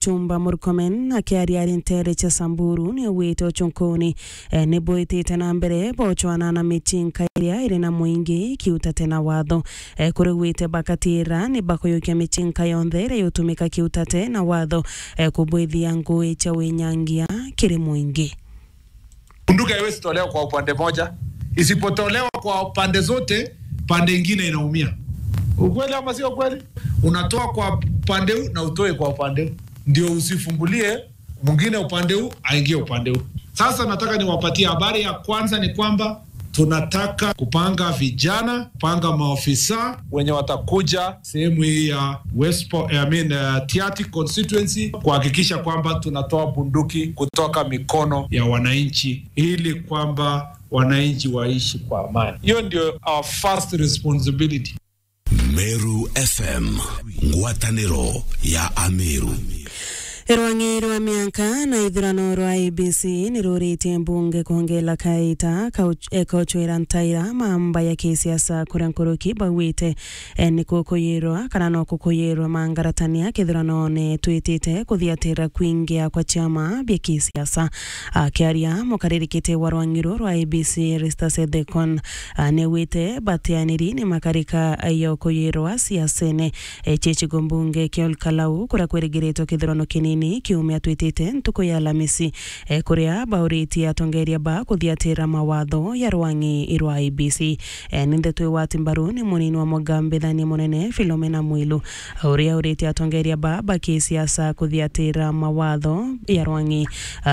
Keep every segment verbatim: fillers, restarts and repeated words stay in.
Chumba Murkomen akiaria ari nteere cia Samburu ni augite uchunkuni, eh, ni bwitite na mbere bocwana na michinka iria iri na muingi kiutate na watho. Eh, kuri gwite bakatira ni bakuyukia michinka yonthe iria yutumika kiutate na watho, eh, kubwithia ngui cia winyangia kiri muingi. Bunduki haiwezi tolewa kwa upande moja. Isipotolewa kwa pande zote, pande ingine inaumia. Ukweli ama sio kweli? Unatoa kwa upande huu na utoe kwa upande huu, ndio usifungulie mwingine upande huu aingie upande huu. Sasa nataka niwapatie habari ya kwanza, ni kwamba tunataka kupanga vijana, kupanga maofisa wenye watakuja sehemu hii ya West Po-, I mean, uh, Tiaty constituency, kuhakikisha kwamba tunatoa bunduki kutoka mikono ya wananchi ili kwamba wananchi waishi kwa amani. Hiyo ndio our first responsibility. Meru F M, ngwataniro ya Ameru. Rwang'i rwa mianka na ithurano rwa I E B C ni ruritie mbunge kwongela kaita kau-, ekochwera ntaira mamba ya kisiasa, kuria nkuruki baugite, eh, ni kukuyirwa kana no kukuyirwa mangaratania kithuranone twitite kuthiatira kwingia kwa ciama bia kisiasa. Akiaria mukaririkite wa rwang'i ruru rwa I E B C, Erastus Ethekon, ah, ni augite batianiri ni makarika ya ukuyirwa siasene. E, chichigo mbunge kia Olkalau, kuria kwirigiritwe kithurano kinini kiumia twitite ntuku ya Alamisi, e, kuria bauritie atongeria ba kuthiatira mawatho ya rwang'i rwa I E B C. E, ni ndeto igwati mbaru ni munini wa mugambithania munene Philomena Mwilu, uria uritie atongeria ba ba kisiasa kuthiatira mawatho ya rwang'i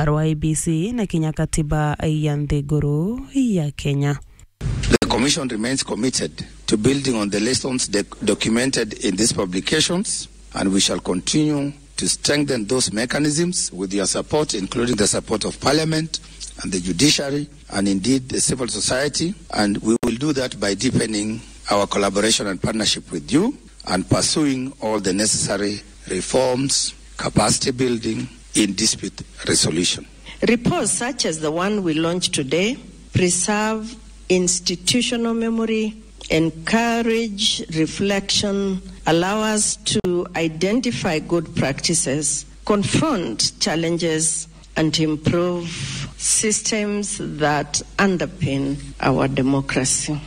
rwa I E B C na kinya katiba ya nthiguru ya Kenya. The Commission remains committed to building on the lessons doc-, documented in these publications, and we shall continue to strengthen those mechanisms with your support, including the support of Parliament and the judiciary, and indeed the civil society. And we will do that by deepening our collaboration and partnership with you and pursuing all the necessary reforms, capacity building in dispute resolution. Reports such as the one we launched today preserve institutional memory, encourage reflection, allow us to identify good practices, confront challenges, and improve systems that underpin our democracy.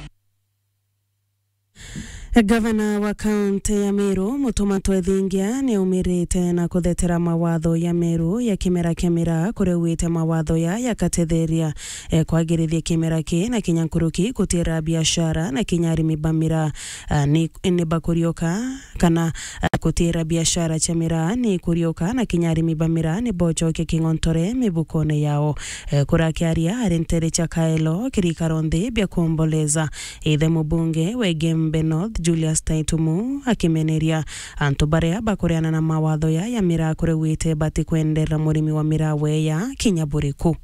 Gavana wa kaunti ya Meru, Mutuma Twethingia, ni aumirite na kuthetera mawatho ya Meru ya kimera kia miraa, kuria augite mawatho ya yakatetheria, eh, kwagirithia kimera ki na kinya nkuruki kutira biashara na kinya arimi ba miraa, ah, ni, ni bakurioka kana, ah, kutira biashara cia miraa ni kurioka na kinya arimi ba miraa ni bochokia king'ontore mibukone yao. Eh, kurakiaria ari ntere cia Kaelo, kirikaro nthi bia kuomboleza, ithe mubunge wa Igembe North, Julius Taitumu, akimeneria antu baria bakureana na mawatho ya, ya miraa kuria augite batikwenderera murimi wa miraa weya kinya buriku.